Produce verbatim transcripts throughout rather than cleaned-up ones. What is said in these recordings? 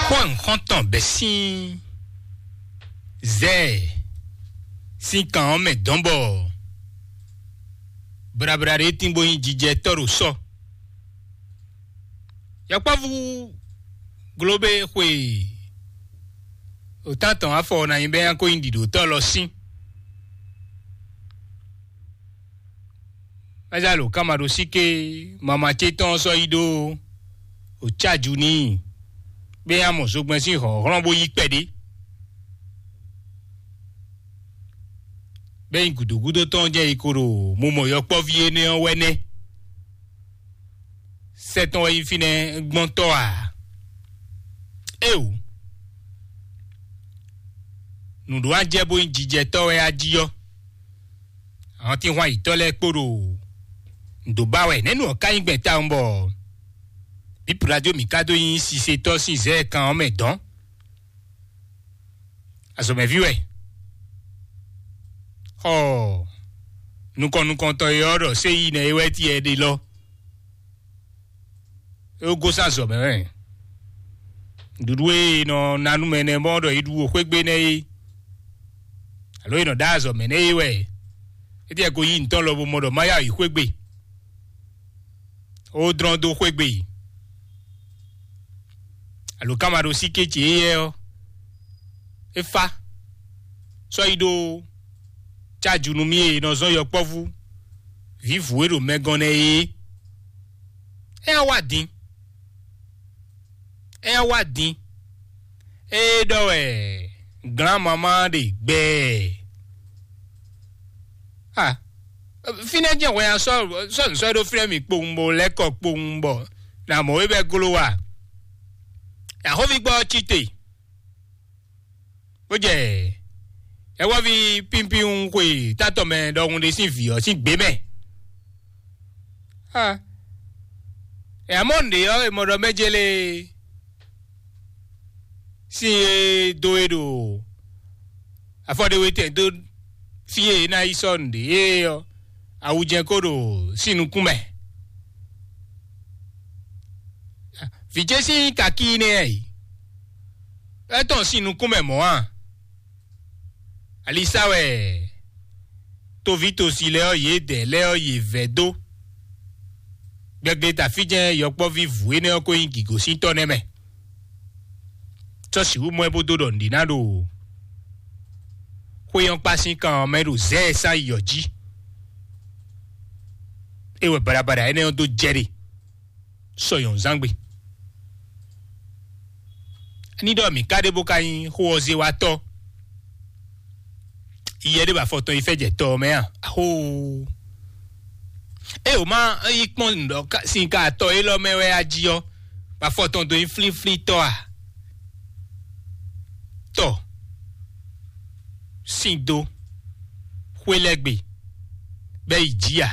Xó nǔxɔ́ntɔn bɛ́ sín zɛ sín kan ɔ́ mɛ dɔn bɔ blablá ɖé tín bó nyí jijɛ tɔ́ ɖo sɔ. Yɔkpɔ́vú glóbé xwe òtántɔn afɔ ná nyí bɛ́ nyá kó nyí ɖiɖǒtɔ́ lɔ sín. Ɛ́ zá lǒ ká ma ɖo síké mama ce tɔn sɔ́ yi ɖó òcáju n'i, bó yá mɔ zogbɛ́n sín hlɔ̌nhlɔ́n bó yí kpɛɖé. Bɛ́ nyí gǔdo gúdo tɔn jɛ yi ko ɖo mumɔ yɔkpɔ́ví énɛ́ ɔ́ wɛ nɛ́. Sɛ́ tɔn wɛ nyí fínɛ́ gbɔ́ntɔ́ a? Éeǒ, nǔɖó ajɛ bó nyí jijɛtɔ́ wɛ a jí ɔ́, àwọn tí hwan yǐtɔ́ lɛ́ɛ kpo ɖo nǔ dó ba wɛ nɛ̌ nu ɔ́ ka nyí gbɛn tawun bɔ bípulajo mǐ ka dó nyí sisetɔ́ sín zɛ̌ kan ɔ́ mɛ dɔn? Azɔ̌mɛví wɛ. Xɔ nukɔn nukɔntɔn e ɔ́ ɖɔ séyi nɛ é wɛ tiɛ ɖe lɔ. É gosín azɔ̌ mɛ wɛ. Nǔɖuɖu e è nɔ ná nú mɛ nɛ́ mɔ ɖɔ é ɖu xwé gbe nɛ́ é, alo è nɔ ɖó azɔ̌ mɛ nɛ́ é wɛ. É tɛ́ ko yí ntɔ́ lɔ bo mɔ ɖɔ má yá yi xwé gbe. Ó dlɔ́n dó xwé gbe. Alo ká ma ɖo sí kéce éyɛ́ ɔ́, é fá sɔ́ yi ɖó cáju nú mì e è nɔ zɔ́n yɔkpɔ́vú vǐvǔ e ɖo mɛgɔn nɛ́ é. É wá din. É wá din. É ɖɔ wɛ glǎn mamá ɖe gbɛɛ. Ah, fínɛ́ jẹ́ wɛ ya sɔ́ sɔ́ sɔ́ ɖó fínɛ́ mi kpowun bɔ lɛ́ kɔ kpowun bɔ nà mɔ wé bɛ glo wa. Yàhóvi gbọ́ cí te. Bó jɛ yɛwɔ́ví pínpín xwe tátɔ mɛ ɖɔhun ɖé sín vǐ ɔ́ sín gbě mɛ. Ah, ɛ amɔ́ nǔɖé ɔ́, è mɔ ɖɔ mɛ jélé sín e dó e ɖo afɔɖéwétɛn dó fí e é ná yi sɔ́ nǔɖé é ɔ́, awujɛ́n ko ɖo sín nukún mɛ. Vǐ ce sín kakí nɛ́ ɛ yi. É tɔn sín nukún mɛ mɔ̌ a? Alisa wɛ toví tosi lɛ́ɛ ɔ́, yědɛɛ lɛ́ɛ ɔ́, yě vɛ́ dó. Gbɛgbɛ tafíjɛ́n yɔkpɔ́ví vǔ énɛ́ ɔ́ ko nyí gǐgosíntɔ́ nɛ́ mɛ. Sɔ́ sixú mɔ ɛ bó dó ɖɔ nǔɖé ná ɖo xwé ɔ́ kpá sín kan ɔ́ mɛ ɖo zɛ́ ɛ sán yi ɔ́ jí. É wɛ baɖabaɖa énɛ́ ɔ́ dó jɛ ɖe sɔ nyɔ̌nuzángbe. Ní ɖɔ mǐ ka ɖe bó ka nyí xó ɔ́ zé wá tɔ́. Yɛ ɖé ba afɔtɔn yi fɛ jɛ tɔ ɔ́ mɛ a? Axóo! Ée wǒ má yi kpɔ́n nǔ ɖɔ ka- sin ka atɔ élɔ́ mɛ wɛ a jí ɔ́, ba afɔtɔn dó nyí flíflí tɔ́ a? Tɔ sín dó xwé lɛ́ gbe bɛ́ yi jǐ a?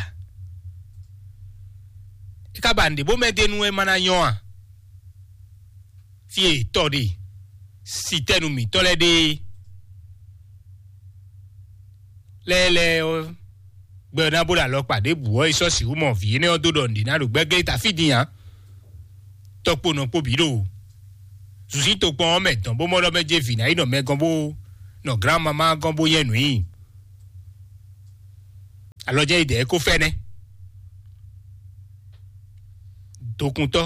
É ka ba nǔɖé bó mɛ d'é nú é ma ná nyɔ́ a? Fí e tɔ ɖe sitɛnu mǐtɔn lɛ́ɛ ɖe lɛ́ɛ lɛ́ɛ ɔ́, gbɛ ɔ́ ná bó ɖo alɔkpa ɖěbǔ ɔ́, é sɔ́ sixú mɔ vǐ énɛ́ ɔ́ dó ɖɔ nǔɖé ná ɖo gbɛ́glé ta fí din ǎ. Tɔkpo nɔ kpo bǐ ɖo zuzí tokpɔn ɔ́ mɛ dɔn bó mɔ ɖɔ mɛ jɛ vǐ ná yi nɔ mɛ gɔ́n bó nɔ glán mamá gɔ́n bó nyɛ nǔ nyi. Alɔ jɛ yi dɛ ko fɛ nɛ. Dokuntɔ,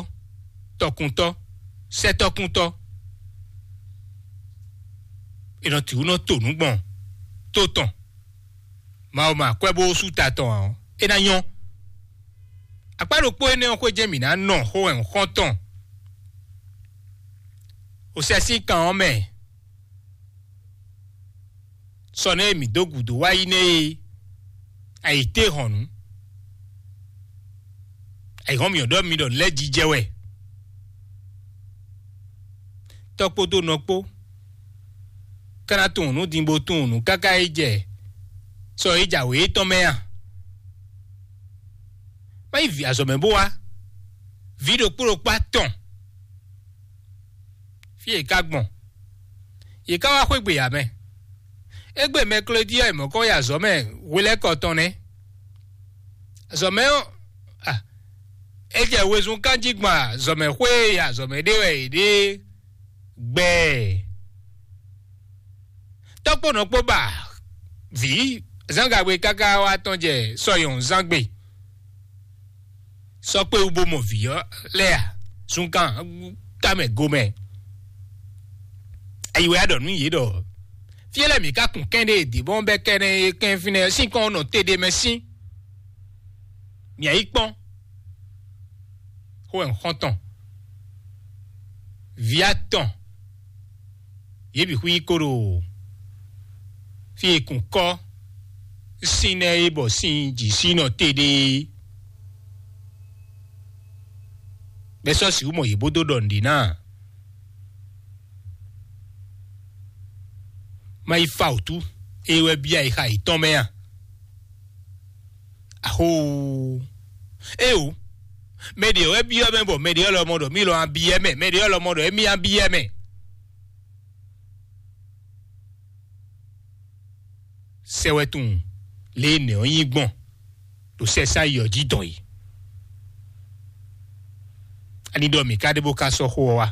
tɔkuntɔ, sɛtɔkuntɔ. È nɔ tǐ wú nɔ to nǔ gbɔn tó tɔn. Mawu ma kwɛ bó sú ta tɔn ǎ, é ná nyɔ́. Akpá ɖokpó énɛ́ ɔ́ xwé jɛ́n mǐ ná nɔ xó wɛ xɔ́ntɔn. Osɛ́ sín kan ɔ́ mɛ, sɔ nɛ́ e mǐ dó gǔdo wá yi nɛ́ e, ayǐtéhɔ̌nnu, ayǐhɔ́n mǐ ɔ́ ɖɔ mi ɖɔ nǔ lɛ́ɛ jijɛ wɛ. Tɔ́ kpódó nɔ kpó, ká ná tunwun nǔ din bó tunwun nǔ káká yi jɛ sɔ e jǎwe étɔn mɛ a? Má yi vǐ azɔ̌ mɛ bó wá. Vǐ ɖokpó ɖokpó atɔn. Fí e ka gbɔn, yě ká wá xwé gbe ǎ mɛ. Égbé mɛklódí ɔ́, è mɔ̌ kɔ yi azɔ̌ mɛ hwelɛ́kɔ tɔn nɛ́. Azɔ̌ mɛ ɔ́, a, é jɛ wezun kán jí gbɔn azɔ̌ mɛ xwé e azɔ̌ mɛ ɖe wɛ è ɖe Gbɛɛ tɔ́kpɔ́nɔ kpó ba vǐ zǎngagbe káká wá tɔn jɛ sɔyɔn zán gbe. Sɔ́ kpé wú bó mɔ vǐ ɔ́ lɛ́ɛ a? Zunkan tamɛ gomɛ. Ayi wɛ a ɖɔ nú yě ɖɔ fí e lɛ́ɛ mǐ ka kun kɛ́n ɖe dǐbɔn bɛ́ kɛ́nɛ e kɛn fínɛ́ sín kɔn nɔ te ɖe mɛ sín. Mǐ yi kpɔ́n xó wɛ xɔ́ntɔn vǐ atɔn yě bǐ xwí kó ɖo fí e kun kɔ́ sín nɛ́ é bɔ sín jǐ sí nɔ te ɖe é. Bɛ́ sɔ́ sixú mɔ yě bó dó ɖɔ nǔɖé ná. Má yi fa wǔtu, é wɛ byɔ́ ayixa yětɔn mɛ a? Axóo! Éeǒ! Mɛ ɖě wɛ byɔ́ mɛ bɔ mɛ ɖě lɔmɔ ɖɔ mí lɔ abyɔ́ mɛ, mɛ ɖě lɔmɔ ɖɔ émí abyɔ́ mɛ. Sɛ wɛ tunwun lě e nɛ̌ ɔ́ nyí gbɔn ɖo sɛsá yɔ jí dɔn yi. Ani ɖɔ mǐ ka ɖe bó ka sɔ́ xó ɔ́ wá?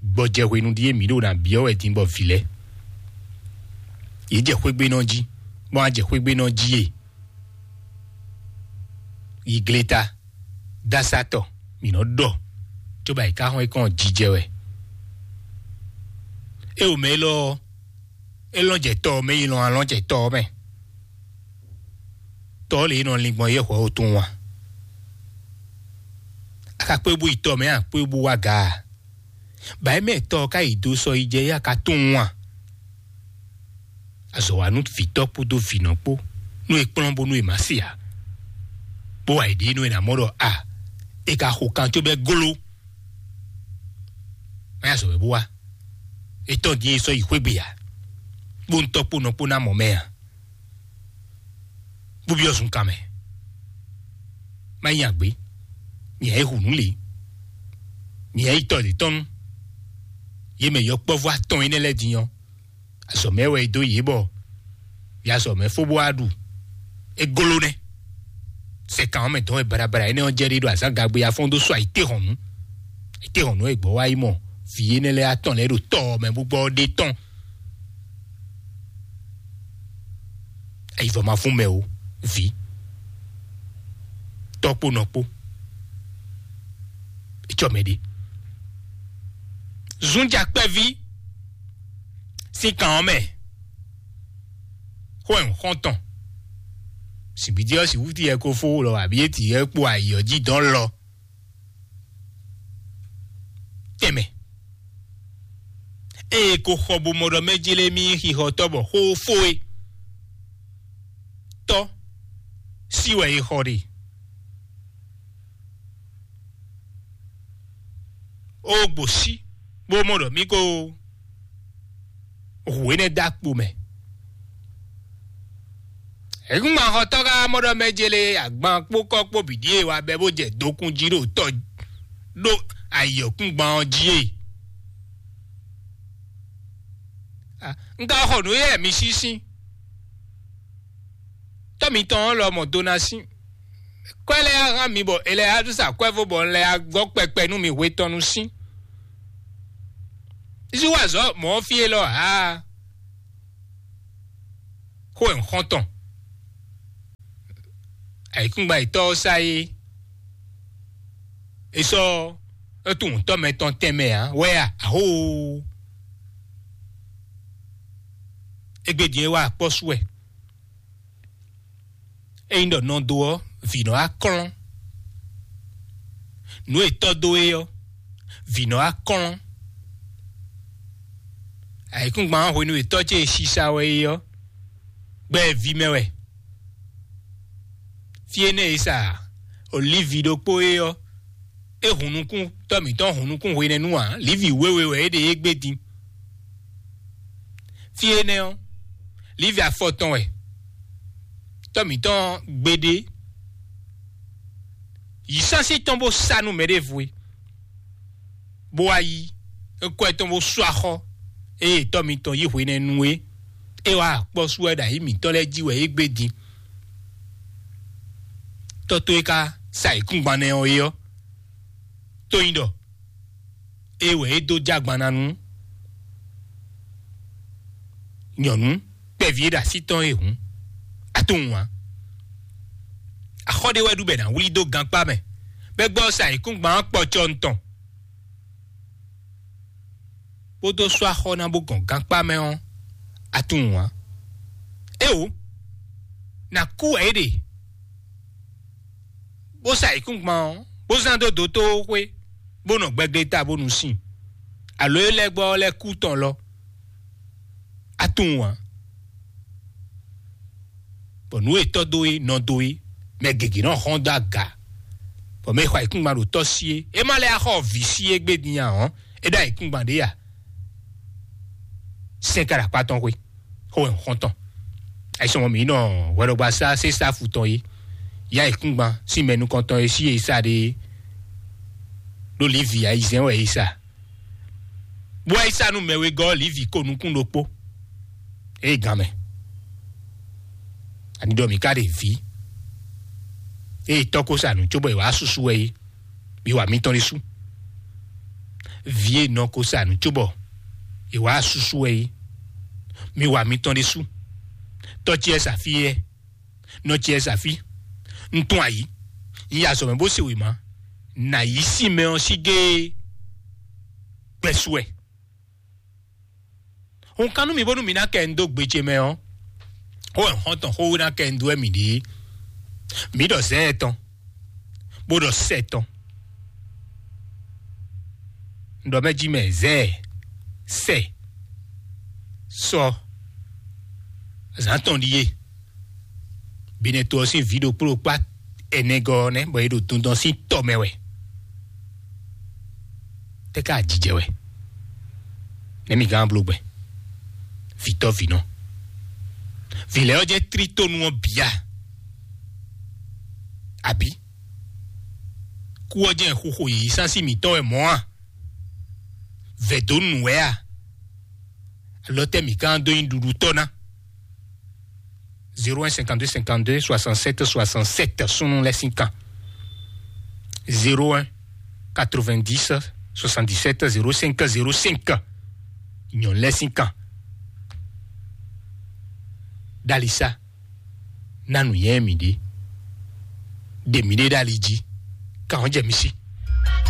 Gbɔjɛ hwenu ɖíe mǐ ɖo ná byɔ́ wɛ din bɔ vǐ lɛ́ɛ yě jɛ xwégbénɔ jí, bɔ wá jɛ xwégbénɔ jí e yi gleta dásátɔ mǐ nɔ ɖɔ, cóbɔ ayǐká xɔ́n é kɔn jijɛ wɛ. É o mɛ élɔ́ ɔ́, é lɔn jɛ tɔ ɔ́ mɛ yi lɔn alɔn jɛ tɔ ɔ́ mɛ. Tɔ ɔ́ lě e nɔ lin gbɔn yɛ hwɛ ó tunwun a? A ka kpé bú yi tɔ mɛ a kpé bú wá ga a? Bǎ é mɛ tɔ ɔ́ ka yi dó sɔ yi jɛ yá ka tunwun a? Azɔ̌ wa nú vǐtɔ́ kpódó vǐnɔ kpó nú è kplɔ́n bónú è má se ǎ, bó wa è ɖě nú è nǎ mɔ ɖɔ a è ka xo kan có bɛ́ gló. Má yá zɔ̌ wɛ bó wá. È tɔ́n din é sɔ́ yi xwé gbe ǎ, bó ntɔ́ kpó nɔ kpó ná mɔ mɛ ǎ. Bó byɔ́ zunkan mɛ. Má nyi agbě. Mǐ yá yi hu nǔ lě. Mǐ yá yi tɔ lě tɔn nú yě mɛ yɔkpɔ́vú atɔn énɛ́ lɛ́ɛ din ɔ́, azɔ̌ mɛ wɛ è dó yě bɔ yě azɔ̌ mɛ fó bó wá ɖu. É gló nɛ́. Sɛkan ɔ́ mɛ dɔn wɛ baɖabaɖa énɛ́ ɔ́ jɛ ɖe ɖo azǎn gagbe afɔ́n dó sɔ́ ayǐtéhɔ̌nnu. Ayǐtéhɔ̌nnu e gbɔ̌ wá yi mɔ vǐ énɛ́ lɛ́ɛ atɔn lɛ́ɛ ɖo tɔ ɔ́ mɛ bó gbɔ ɔ́ ɖe tɔn. Ayivɔ ma fún mɛ o, vǐ, tɔ́ kpó nɔ kpó. Etsɔ mɛ ɖe. Zunjakpɛví sín kan ɔ́ mɛ, xó ɛ xɔ́ntɔn. Sǐgbídí ɔ́ sixú ti yɛ ko fó lɔ abǐ é ti yɛ kpo ayǐ ɔ́ jí dɔn lɔ. Tɛnmɛ. Ée ko xɔ bo mɔ ɖɔ mɛ jlé mì xixɔtɔ́ bɔ xó fó é. Tɔ́ sí wɛ è xɔ ɖe. Ó gbo sí bó mɔ ɖɔ mì ko hu énɛ́ dó akpo mɛ. Hɛ̌ngbɔ́n xɔtɔ́ ka mɔ ɖɔ mɛ jlé agban kpó kɔ́ kpó bǐ ɖíe wá bɛ́ bó jɛ dokun jí ɖo tɔ́ ɖó ayǐ ɔ́ kún gban ɔ́ jí e. Un ka xɔ nǔ éyɛ́ mi sísí. Tɔ́ mitɔn ɔ́ lɔmɔ̌ dó ná sín. Kwɛ́ lɛ́ɛ hán mi bɔ è lɛ́ á sa kwɛ́ fó bɔ un lɛ́ á gɔ́ kpɛkpɛ nú mi hwe tɔn nu sín. Zí wá zɔ̌ mɔ̌ fí élɔ́ ǎ. Xó ɛ xɔ́ntɔn. Ayǐkúngban yětɔ́ ɔ́ sá é. È sɔ́ é tunwun tɔ́ mɛ tɔn tɛnmɛ ǎ wɛ a? Ahóoo! Égbé din é wá akpɔ́ sú wɛ. Ényí ɖɔ nɔ dó ɔ́, vǐ nɔ wá klɔ́n. Nǔ e tɔ́ dó é ɔ́, vǐ nɔ wá klɔ́n. Ayǐkúngban ɔ́ hwenu e tɔ́ ce e sisa wɛ é ɔ́, gbɛ e ví mɛ wɛ. Fí énɛ́ e sa olívi ɖokpó é ɔ́, é hun nukún tɔ́ mǐtɔn hun nukún hwenɛ́nu ǎ, lǐvi wěwe wɛ é ɖe é gbé din. Fí énɛ́ ɔ́, lǐvi afɔ tɔn wɛ tɔ́ mǐtɔn gbeɖé yi sánsí tɔn bó sá nú mɛɖěvo é, bó wá yí é kɔ ɛ tɔn bó sú axɔ eye tɔ́ mitɔn yí hwenɛ́nu é. É wá akpɔ́ sú wɛ ɖo ayǐ mǐtɔn lɛ́ɛ jí wɛ é gbé din. Tɔ́ tó é ka sa ayǐkúngban nɛ́ ɔ́ é ɔ́, tó nyí ɖɔ É wɛ é dó jɛ agban ná nú nyɔ̌nu kpɛví e ɖo así tɔn é hǔn, a tunwun ǎ. Axɔ́ ɖé wɛ ɖu bɔ è nǎ wlí dó gankpá mɛ, bɔ é gbɔ sa ayǐkúngban ɔ́ kpɔcɔ tɔn, bó dó sú axɔ́ ná bó gɔn gankpá mɛ ɔ́, a tunwun ǎ. Éwo, nǎ kú wɛ é ɖe, bó sa ayǐkúngban ɔ́, bó zán dó dotóxwé, bó nɔ gbɛglé ta bónú sin, alo é lɛ́ gbɔ ɔ́ lɛ́ kú tɔn lɔ, a tunwun ǎ. Bɔ nǔ e tɔ́ dó é, nɔ dó é, mɛ gěgé nɔ hɔn dó aga, bɔ mɛ e xɔ ayǐkúngban ɖo tɔ́ sí é, é má lɛ́ axɔ vǐ sí é gbé din ǎ ɔ́, é ɖó ayǐkúngban ɖé a? Sɛn ka ɖo akpá tɔn xwé, xó wɛ xɔ́ntɔn. Ayisɔmɔ mǐ nɔ hwɛɖɔgbasá sésáfu tɔn é, yá ayǐkúngban sín mɛ nukɔntɔn é sí é sa ɖe é, ɖó Livi ayizɛ́n wɛ é sa. Bó wá yi sa nú mɛ wegɔ́ Livi ko nukún ɖokpó. Ée gán mɛ, ani ɖɔ mǐ ka ɖe vǐ, ée tɔ́ ko sa nǔ cóbɔ è wǎ susu wɛ é, mi wa mitɔn ɖésú. Vǐ e nɔ ko sa nǔ cóbɔ è wǎ susu wɛ é, mi wa mitɔn ɖésú. Tɔ́ ce sa fí é, nɔ ce sa fí. Un tunwun ayǐ, un yi azɔ̌ mɛ bó se wěma, nǎ yí sin mɛ ɔ́ sí géé gbɛ́sú wɛ. Hun kan nú mi bónú mi ná kɛ un dó gbe ce mɛ ɔ́, xó wɛ xɔ́ntɔn xówéná kɛ un dó wɛ mi ɖe é. Mǐ ɖɔ zɛ̌ tɔn, bó ɖɔ sɛ tɔn. Un ɖɔ mɛ jí mɛ zɛ̌, sɛ, sɔ, zǎn tɔn ɖíe. Binɛto ɔ́ sín vǐ ɖokpó ɖokpá ɛnɛgɔ́ ɔ́ nɛ́, bɔ é ɖo dundɔn sín tɔ mɛ wɛ. Tɛ́ ká ajijɛ wɛ? Nɛ̌ mi gán bló gbɛ? Vǐtɔ́ vǐnɔ. Vǐ lɛ́ɛ ɔ́ jɛ trítónu ɔ́ bǐ a? Abǐ kú ɔ́ jɛ xuxo yǐyí sánsí mǐtɔn wɛ mɔ̌ a? Vɛ̌ dó nǔ wɛ a? Alɔ tɛ́ mǐ gán dó nyí ɖuɖutɔ́ ná? Zéro un cinquante-deux cinquante-deux soixante-sept soixante-sept súnnu lɛ́ɛ sín kan. Zéro un quatre-vingt-dix soixante-dix-sept zéro cinq zéro cinq. Nyɔ̌nu lɛ́ɛ sín kan. Ɖalisa, ná nǔnywɛ́ mì ɖě. Ɖe mǐɖée ɖo ali jí, kan ɔ́ jɛ mi sí.